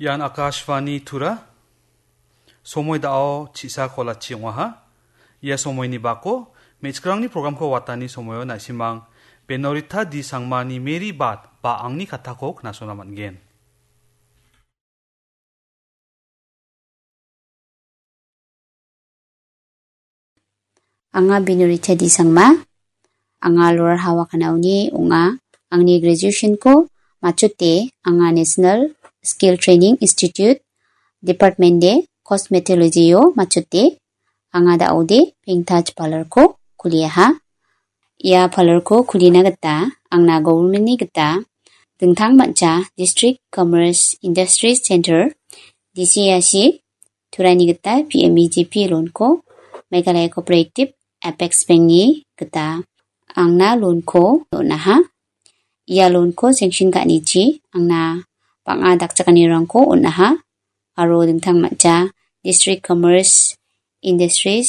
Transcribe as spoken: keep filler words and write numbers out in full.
Ian Akashvani Tura. Somoi dao chisa kolachi ong·aha. Ia somoini bako me·chikrangni programko watani somoio na·simang Benorita D Sangmani Mary Bat ba angni katako knasona man·gen. Anga Benorita D Sangma. Anga Lower Hawa Kanaoni ong·a. Angni graduation-ko machote anga National Skill Training Institute Department de Cosmetology-o machote anga da·ode pengtaj parlour-ko kuliaha. Ia parlour-ko kulina gita angna government-ni gita dingtang mancha District Commerce Industries Center, D C I C, turani gita P M E G P loan-ko Meghalaya Cooperative Apex Bank-ni gita angna loan-ko on·aha. Ia loan-ko sanction ka·anichi angna bang·a dakchakanirangko on·aha aro dingtang mancha District Commerce Industries